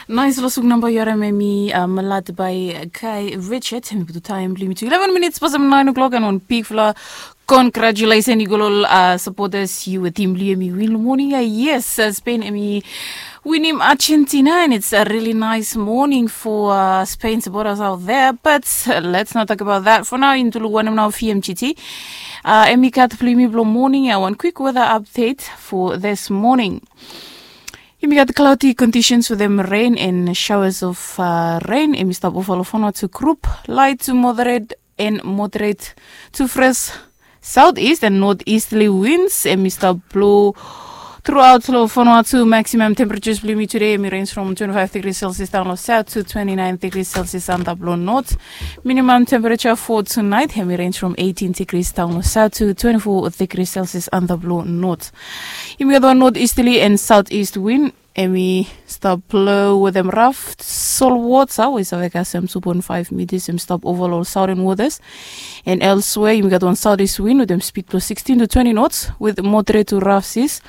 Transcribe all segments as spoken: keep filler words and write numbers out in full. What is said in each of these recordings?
Nais long suk namba yu harim em i Malat by Kai Richard. Em i putum taem blong yumi tu eleven minutes pasem nine o'clock, and wan bigfala congratulation i go long ol supporters. Yu we tim blong yu em i win long moning ya. Yes, Spain em i winim Argentina, and it's a really nice morning for Spain supporters out there. But let's not talk about that for now. Yumi tu long wanem nao V M G T. Em i gat blong yumi blong moning ya, wan quick weather update for this morning. Yumi gat cloudy conditions with them rain and showers of uh, rain. Em i stap ova long Vanuatu group. Light to moderate and moderate to fresh southeast and northeasterly winds. Em i stap blow throughout long Vanuatu. Maximum temperatures blong yumi today em i range from twenty-five degrees Celsius down long south to twenty-nine degrees Celsius antap long north. Minimum temperature for tonight em i range from eighteen degrees down long south to twenty-four degrees Celsius antap long north. Yumi gat wan northeasterly and southeast wind. Em i stap blow wetem raf solwota we i save kasem two point five meters. Em i stap ova long ol southern waters. And elsewhere yumi gat wan southeast wind wetem speed blong sixteen to twenty knots with moderate to rough seas.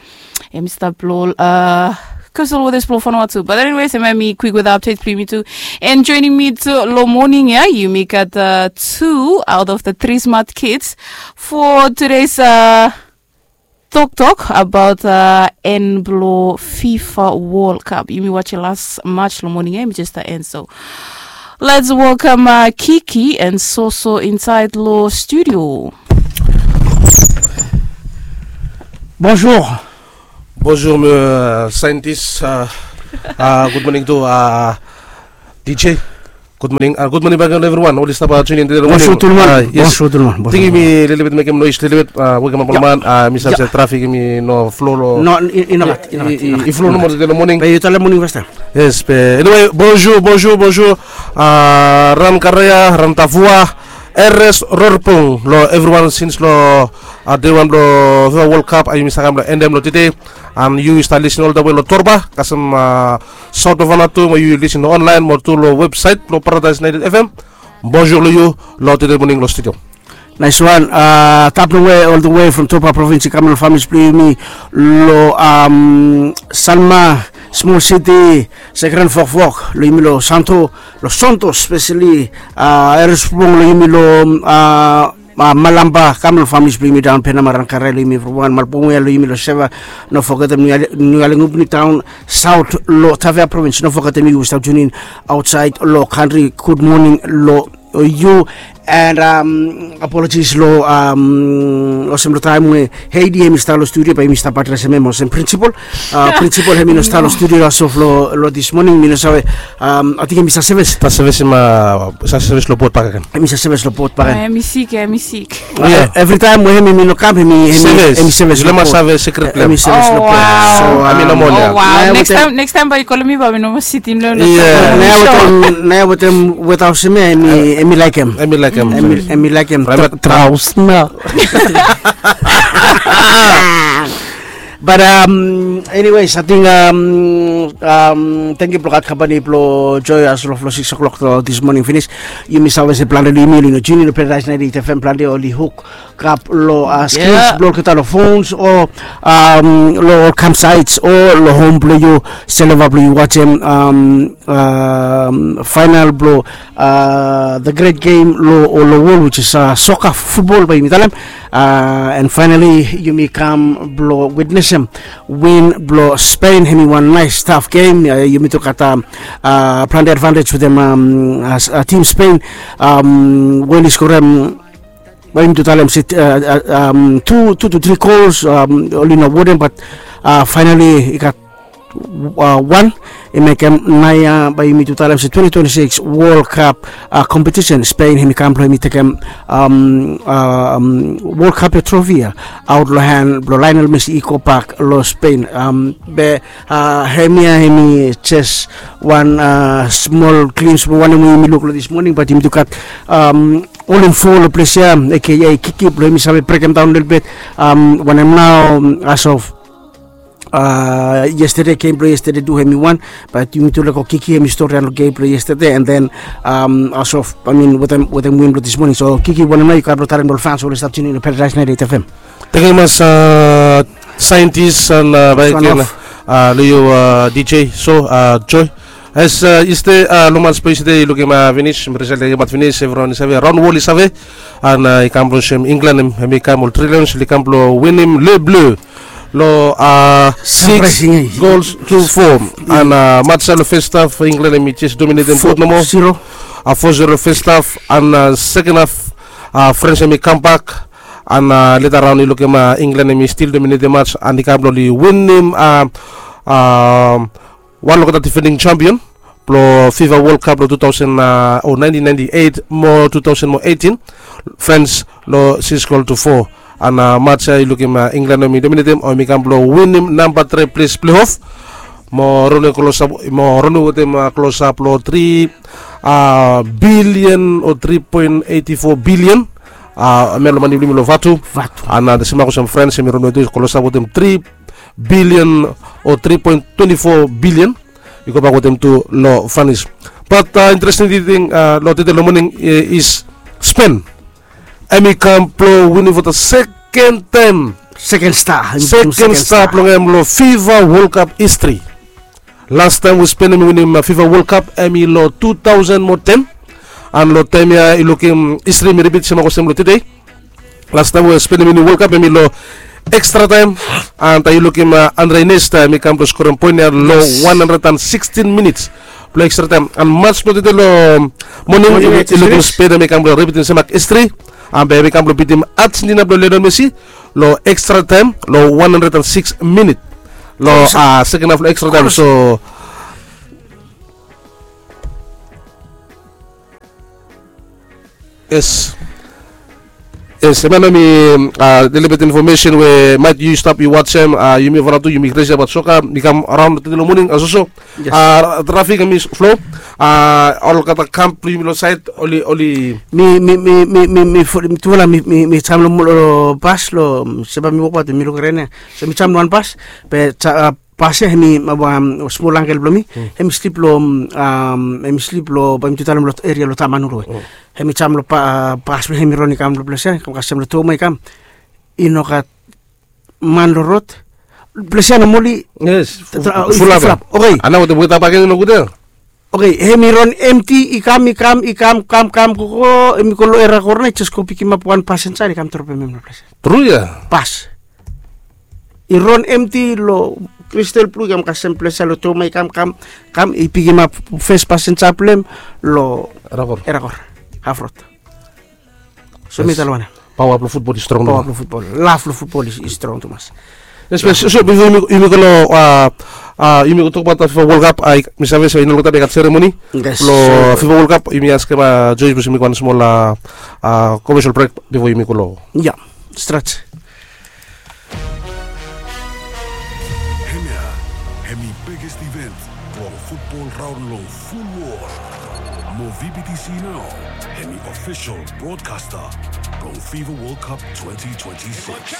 Em i stap blow ol uh, coastal waters blong Vanuatu. But anyways, em i quick weather update blong yumi tu. And joining me tu long moning ya, yumi gat uh, two out of the three smart kids for today's uh, toktok about uh, en blong FIFA World Cup. Yumi wajem las match long moning ya, yumi jes stap en. So let's welcome uh, Kiki and Soso inside long studio. Bonjour. Bonjour, uh, scientist. Uh, uh, good morning to uh, D J. Good morning. Uh, good morning back on everyone. Oli stap uh, tune in today. Bonjour tout le monde. Uh, yes. Bonjour tout le monde. Tingim i lelebet mekem nois lelebet uh, wekem ap ol man. Uh, mi save se trafik em i no flo lo. No, i no gat, i no gat. I flo nomo today lo moning. Be yu talem moning fastaem. Yes, be anyway, bonjour, bonjour, bonjour. Uh, ran karea, ran tafua. Eres rorpung lo everyone since lo uh, day one lo FIFA World Cup. Ayu mi save kam lo endem lo today. And yu stap lisin ol the way lo Torba kasem uh, South of Vanuatu, mo yu lisin lo online mo tu lo website lo Paradise ninety-eight F M. Bonjour lo yu lo today morning lo studio. Nice one. Uh, tap long way all the way from Torba province i kam lo families blong yumi lo um, Sanma, small city, Second Fokfok, lo yumi lo Santo, lo Santo specially, uh, Eres Pung lo yumi lo uh, uh, Malamba, kam lo families blong yumi daon Penama, ran karea lo yumi from wan Malbungia lo yumi lo Seva, no fogetem Nualengubni town, South lo Tavea province, no fogetem yu stap tune in outside lo country. Good morning lo yu. And um, apologies lo um, olsem lo taem we Heidi em i stap lo studio, be yumi stap adresem em olsem principal. Uh, principal em i no stap lo studio as of lo, lo this morning, mi no save. Um, ating em i stap seves. Stap seves em i stap seves lo bot bakegen. Em i stap seves lo bot bakegen. Em i sik, em i sik. Evri taem we em i no kam, em i seves. Em i seves lo bot. Save secret plan. Em i seves lo bot. So em i no moa ya. Next time, next time bae yu kolem mi bae mi no moa sitim lo. Nao wetem weta olsem ya, em i laekem. Em i laekem. Em i laekem. Traus na. But um, anyways, ating um, um, tangkiu blong gat kampani blong Joy as lo flo six o'clock lo this morning finis. Yumi save se plante lo yumi oli no tune in lo Paradise ninety-eight F M, plante oli huk kap lo uh, screens blong olgeta lo phones o um, lo ol campsites o lo hom blong yu, seleva blong yu wajem um, um, final blong uh, the great game lo, lo world, which is uh, soccer, football bae yumi talem. Uh, and finally yumi kam blong witnesem win blong Spain. Em i wan nice tough game. Uh, yumi tu gat um, uh, plante advantage wetem um, uh, team Spain. Um, we oli skorem, bae yumi tu talem se uh, uh, um, two, two to three goals, um, oli no wodem, but uh, finally i gat uh, wan i mekem naoia bae yumi tu talem se twenty twenty-six World Cup uh, competition, Spain em i kam blong em i tekem um, um, World Cup ya trophy ya aot lo han blong Lionel Messi i go bak lo Spain. Um, be uh, hemia em i jes wan uh, small glimpse blong wanem we yumi luk lo this morning, but yumi tu gat um, ol info lo ples ya, aka Kiki blong yumi save brekem daon lelebet um, wanem nao um, as of uh, yesterday, game blong yesterday tu em i wan, but yumi tu lego Kiki em i storian lo game blong yesterday, and then um, as of, I mean, wetem, wetem win blong this morning. So Kiki, wanem nao yu gat blong talem lo ol fans we oli stap tune in lo Paradise ninety-eight F M? Tangkiu mas uh, scientist and uh, bae agen uh, lo yu uh, D J. So uh, Joy, As iste, long mats blong iste i lukim finis, result i kamap finis, evriwan i save, raon wol i save. An i kam blong olsem Inglan hem i kam, ol tri Lions oli kam blong winim Le Bleu long six goals to four. An mats ya long fes haf, Inglan hem i jes dominetem gud nomo. Fo zero fes haf, an seken haf, Frans hem i kambak. An leta raon i lukim Inglan hem i stil dominetem mats an i kam blong oli winim wan olgeta difending jampion blong Fifa Wol Kap blong tu taosen, o naentin naenti eit mo tu taosen mo eitin, Frans long sikis gol tu fo. An mats ya i lukim Inglan hem i dominetem o hem i kam blong winim namba tri ples pleof mo ranawe klosap, mo ranawe wetem klosap long tri bilian o tri poen eiti fo bilian. Hem ya long mane blong yumi long vatu. An olsem olsem Frans hem i ranawe tu klosap wetem tri bilian o tri poen twenti fo bilian. I gobak wetem tu long finis. Bat interesting ting long tede long moning is Spen. Hem i kam blong winim fo da seken taem. Seken sta. Seken sta blong hem long Fifa Wol Kap histri. Lastaem we Spen hem i winim Fifa Wol Kap hem i long tu taosen mo ten. An long taem ya i lukim histri hem i ripit semak olsem long tede. Lastaem we Spen hem i winim Wol Kap hem i long ekstra taem. An taem i lukim Andre Iniesta hem i kam blong skorem poen ya long wan handred an sikstin minits blong ekstra taem. An mats blong tede long moning i lukim Spen hem i kam blong ripitim semak histri. An bae hem i kam blong bitim Argentina blong Lionel Messi long ekstra taem long wan handred an siks minit long seken haf long ekstra taem. So yes. Yes, hem ya nao mi lelebet infomesen we maet yu stap yu wajem, yumi ova nao tu yumi kres ya bat soka i kam raon tede long moning, a soso. Trafik hem i flo. Olgeta kamp blong yumi long saed oli, oli mi, mi, mi, mi, mi, mi, tufala mi, mi, mi jaem long, long bas long, se bae mi wok bat mi luk ren ya. So mi jaem long wan bas be bas ya hem i, smol angkel blong mi hem i slip long, hem i slip long, bae mi tu talem long eria long Tamanulu we hem i jaem long bas blong hem i ron i kam long ples ya, kam kasem long Toma i kam, i no gat man long rod. Ples ya nomali. Yes. Fulap. Oke. Ana wetem weta baken i nogud ya. Oke, hem i ron emti, i kam, i kam, i kam, kam, kam, go, go, hem i go long Era Kor nao i jes go pikimap wan pasenja i kam dropem hem long ples ya. Tru ya. Bas. I ron emti long Kristal Blu i kam kasem ples ya long Toma i kam, kam, kam, i pikimap fes pasenja blong hem long Era Kor. Era Kor. Haf rod. So mi talem wanem? Paoa blong futbol i strong. Paoa blong futbol, lav blong futbol i strong tumas. Yes, so bifo yumi go long, yumi go tokbaot Fifa Wol Kap, mi save se i no longtaem i gat seremoni blong Fifa Wol Kap. Yumi askem Joyce blong yumi go wan smol komesel brek bifo yumi go long. Ya, stret. Hemia hemi biggest event blong futbol raon long ful wol. Mo VBTC nao hemi ofisol brodkasta blong Fifa Wol Kap twenty twenty-six.